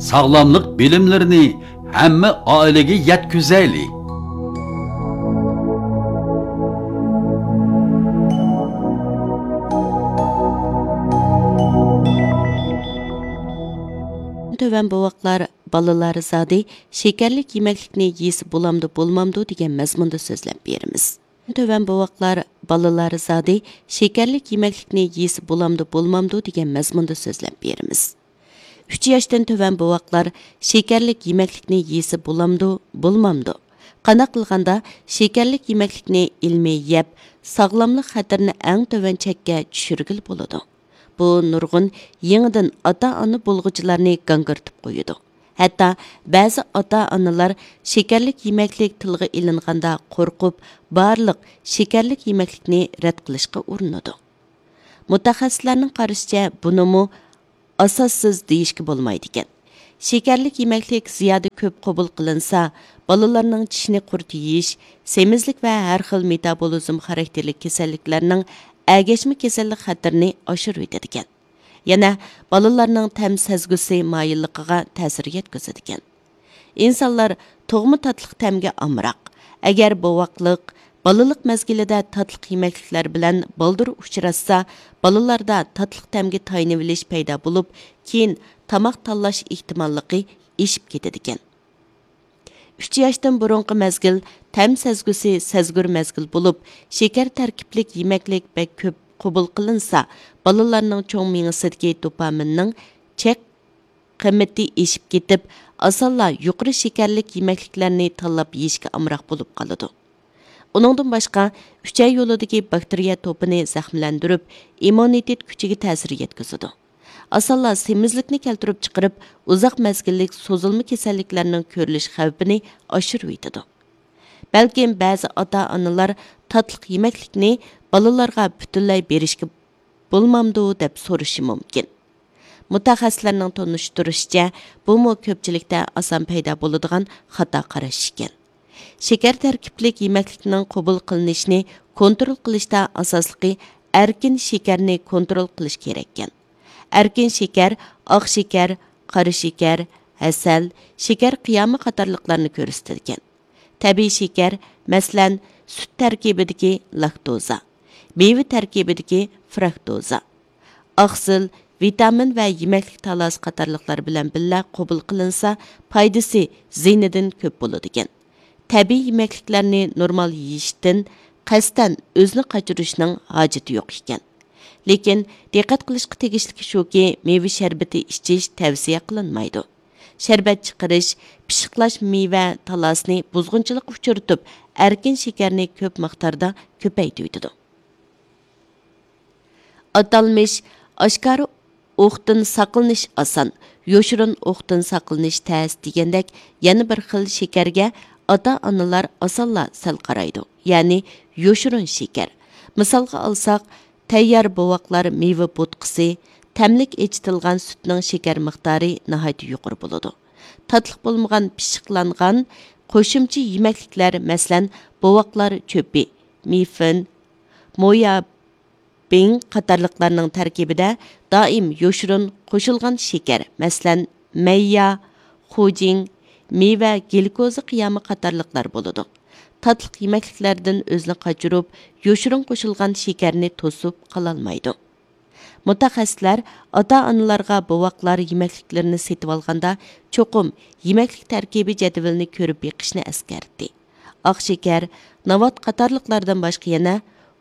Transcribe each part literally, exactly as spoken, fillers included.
ساغلاملىق بىلىملىرىنى ھەممە ئائىلىگە يەتكۈزەيلى. تۆۋەن بوۋاقلار، بالىلار زادى شېكەرلىك يېمەكلىكنى يېسە بولامدۇ، بولمامدۇ دېگەن مەزمۇندا سۆزلەپ بېرىمىز. تۆۋەن بوۋاقلار، بالىلار زادى شېكەرلىك يېمەكلىكنى يېسە بولامدۇ، بولمامدۇ دېگەن مەزمۇندا سۆزلەپ بېرىمىز. ئۈچ ياشتىن تۆۋەن بوۋاقلار شېكەرلىك يېمەكلىكنى يېسە بولامدۇ، بولمامدۇ؟ قانداق قىلغاندا شېكەرلىك يېمەكلىكنى ئىلمىي يەپ، ساغلاملىق خەتىرىنى ئەڭ تۆۋەن چەككە چۈشۈرگىلى بولىدۇ؟ بۇ نۇرغۇن يېڭىدىن ئاتا-ئانا بولغۇچىلارنى گاڭگىرىتىپ قويىدۇ. ھەتتا بەزى ئاتا-ئانىلار شېكەرلىك يېمەكلىك تىلغا ئېلىنغاندا قورقۇپ، بارلىق شېكەرلىك يېمەكلىكنى رەت قىلىشقا ئۇرۇنىدۇ. مۇتەخەسسىسلەرنىڭ قارىشىچە، بۇنىمۇ ئاساسسىز دېيىشكە بولمايدىكەن. شېكەرلىك يېمەكلىك زىيادە كۆپ قوبۇل قىلىنسا، بالىلارنىڭ چىشنى قۇرت يېيىش، سېمىزلىك ۋە ھەر خىل مېتابولىزم خاراكتېرلىك كېسەللىكلەرنىڭ ئەگەشمە كېسەللىك خەتىرىنى ئاشۇرۇۋېتىدىكەن. يەنە بالىلارنىڭ تەم سەزگۈسى مايىللىقىغا تەسىر يەتكۈزىدىكەن. ئىنسانلار تۇغما تاتلىق تەمگە ئامراق. ئەگەر بوۋاقلىق، بالىلىق مەزگىلىدە تاتلىق يېمەكلىكلەر بىلەن بالدۇر ئۇچراشسا، بالىلاردا تاتلىق تەمگە تايىنىۋېلىش پەيدا بولۇپ، كېيىن تاماق تاللاش ئېھتىماللىقى ئېشىپ كېتىدىكەن. ئۈچ ياشتىن بۇرۇنقى مەزگىل تەم سەزگۈسى سەزگۈر مەزگىل بولۇپ، شېكەر تەركىبلىك يېمەكلىك بەك كۆپ قوبۇل قىلىنسا، بالىلارنىڭ چوڭ مېڭىسىدىكى دوپامىننىڭ چەك قىممىتى ئېشىپ كېتىپ، ئاسانلا يۇقىرى شېكەرلىك يېمەكلىكلەرنى تاللاپ يېيىشكە ئامراق بولۇپ قالىدۇ. ئۇنىڭدىن باشقا، ئۈچەي يولىدىكى باكتېرىيە توپىنى زەخىملەندۈرۈپ، ئىممۇنىتېت كۈچىگە تەسىر يەتكۈزىدۇ. ئاسانلا سېمىزلىكنى كەلتۈرۈپ چىقىرىپ، ئۇزاق مەزگىللىك سوزۇلما كېسەللىكلەرنىڭ كۆرۈلۈش خەۋپىنى ئاشۇرۇۋېتىدۇ. بەلكىم بەزى ئاتا-ئانىلار تاتلىق يېمەكلىكنى بالىلارغا پۈتۈنلەي بېرىشكە بولمامدۇ دەپ سورىشى مۇمكىن. مۇتەخەسسىسلەرنىڭ تونۇشتۇرۇشىچە، بۇمۇ كۆپچىلىكتە ئاسان پەيدا بولىدىغان خاتا قاراش ئىكەن. شېكەر تەركىبلىك يېمەكلىكنىڭ قوبۇل قىلىنىشىنى كونترول قىلىشتا ئاساسلىقى ئەركىن شېكەرنى كونترول قىلىش كېرەككەن. ئەركىن شېكەر، ئاق شېكەر، قارا شېكەر، ھەسەل، شېكەر قىيامى قاتارلىقلارنى كۆرسىتىدىكەن. تەبىئىي شېكەر، مەسىلەن، سۈت تەركىبىدىكى لاكتوزا، مېۋە تەركىبىدىكى فرۇكتوزا، ئاقسىل، ۋىتامىن ۋە يېمەكلىك تالاسى قاتارلىقلار بىلەن بىللە قوبۇل قىلىنسا، پايدىسى زىيىنىدىن كۆپ بولىدىكەن. تەبىئىي يېمەكلىكلەرنى نورمال يېيىشتىن قەستەن ئۆزىنى قاچۇرۇشنىڭ ھاجىتى يوق ئىكەن. لېكىن، دىققەت قىلىشقا تېگىشلىكى شۇكى، مېۋە شەربىتى ئىچىش تەۋسىيە قىلىنمايدۇ. شەربەت چىقىرىش، پىششىقلاش مېۋە تالاسىنى بۇزغۇنچىلىققا ئۇچرىتىپ، ئەركىن شېكەرنى كۆپ مىقداردا كۆپەيتىۋېتىدۇ. ئاتالمىش «ئاشكارا ئوقتىن ساقلىنىش ئاسان، يوشۇرۇن ئوقتىن ساقلىنىش تەس» دېگەندەك، يەنە بىر خىل شېكەرگە ئاتا-ئانىلار ئاسانلا سەل قارايدۇ، يەنى يوشۇرۇن شېكەر. مىسالغا ئالساق، تەييار بوۋاقلار مېۋە بوتقىسى، تەملىك ئېچىتىلغان سۈتنىڭ شېكەر مىقدارى ناھايىتى يۇقىرى بولىدۇ. تاتلىق بولمىغان پىششىقلانغان قوشۇمچە يېمەكلىكلەر، مەسىلەن، بوۋاقلار چۆپى، مىفىن، مويا بىڭ قاتارلىقلارنىڭ تەركىبىدە دائىم يوشۇرۇن قوشۇلغان شېكەر، مەسىلەن، مەييا، خۇجىڭ، مېۋە گلۇكوزا قىيامى قاتارلىقلار بولىدۇ. تاتلىق يېمەكلىكلەردىن ئۆزىنى قاچۇرۇپ، يوشۇرۇن قوشۇلغان شېكەرنى توسۇپ قالالمايدۇ. مۇتەخەسسىسلەر ئاتا-ئانىلارغا بوۋاقلار يېمەكلىكلىرىنى سېتىۋالغاندا، چوقۇم يېمەكلىك تەركىبى جەدۋىلىنى كۆرۈپ بېقىشنى ئەسكەرتتى. ئاق شېكەر، ناۋات قاتارلىقلاردىن باشقا يەنە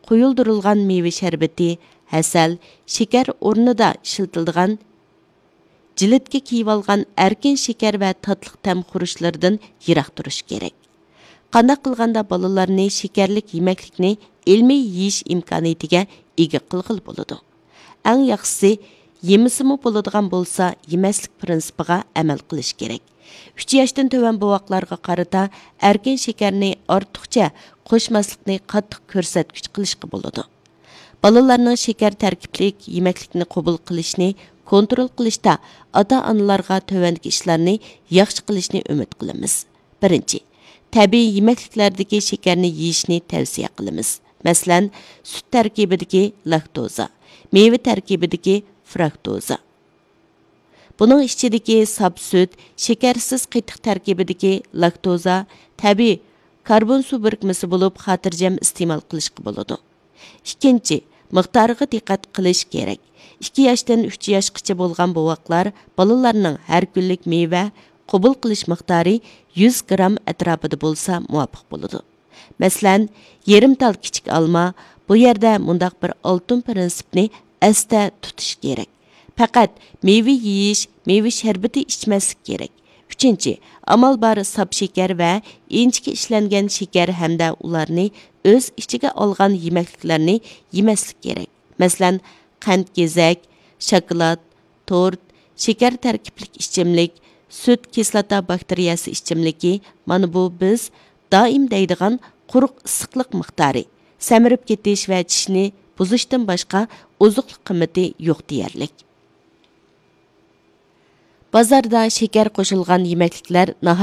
قويۇلدۇرۇلغان مېۋە شەربىتى، ھەسەل، شېكەر ئورنىدا ئىشلىتىلىدىغان جىلىتكە كىيىۋالغان ئەركىن شېكەر ۋە تاتلىق تەم خۇرۇچلىرىدىن يىراق تۇرۇش كېرەك. قانداق قىلغاندا بالىلارنى شېكەرلىك يېمەكلىكنى ئىلمىي يېيىش ئىمكانىيىتىگە ئىگە قىلغىلى بولىدۇ؟ ئەڭ ياخشىسى، يېمىسىمۇ بولىدىغان بولسا، يېمەسلىك پىرىنسىپىغا ئەمەل قىلىش كېرەك. ئۈچ ياشتىن تۆۋەن بوۋاقلارغا قارىتا ئەركىن شېكەرنى ئارتۇقچە قوشماسلىقنى قاتتىق كۆرسەتكۈچ قىلىشقا بولىدۇ. بالىلارنىڭ شېكەر تەركىبلىك يېمەكلىكنى قوبۇل قىلىشىنى كونترول قىلىشتا ئاتا-ئانىلارغا تۆۋەندىكى ئىشلارنى ياخشى قىلىشنى ئۈمىد قىلىمىز. بىرىنچى، تەبىئىي يېمەكلىكلەردىكى شېكەرنى يېيىشنى تەۋسىيە قىلىمىز. مەسىلەن، سۈت تەركىبىدىكى لاكتوزا، مېۋە تەركىبىدىكى فرۇكتوزا. بۇنىڭ ئىچىدىكى ساپ سۈت، شېكەرسىز قېتىق تەركىبىدىكى لاكتوزا، تەبىئىي كاربون سۇ بىرىكمىسى بولۇپ، خاتىرجەم ئىستېمال قىلىشقا بولىدۇ. ئىككىنچى، مىقدارىغا دىققەت قىلىش كېرەك. ئىككى ياشتىن ئۈچ ياشقىچە بولغان بوۋاقلار، بالىلارنىڭ ھەر كۈنلۈك مېۋە قوبۇل قىلىش مىقدارى يۈز گرام ئەتراپىدا بولسا مۇۋاپىق بولىدۇ. مەسىلەن، يېرىم تال كىچىك ئالما، بۇ يەردە مۇنداق بىر ئالتۇن پىرىنسىپنى ئەستە تۇتۇش كېرەك. پەقەت مېۋە يېيىش، مېۋە شەربىتى ئىچمەسلىك كېرەك. ئۈچىنچى، ئامال بار ساپ شېكەر ۋە ئىنچىكە ئىشلەنگەن شېكەر ھەمدە ئۇلارنى ئۆز ئىچىگە ئالغان يېمەكلىكلەرنى يېمەسلىك كېرەك. مەسىلەن، قەنت گېزەك، شاكىلات، تورت، شېكەر تەركىبلىك ئىچىملىك، سۈت كىسلاتا باكتېرىيەسى ئىچىملىكى، مانا بۇ بىز دائىم دەيدىغان قۇرۇق ئىسسىقلىق مىقدارى، سەمرىپ كېتىش ۋە چىشنى بۇزۇشتىن باشقا ئوزۇقلۇق قىممىتى يوق دېيەرلىك. بازاردا شېكەر قوشۇلغان يېمەكلىكلەر ناھايىتى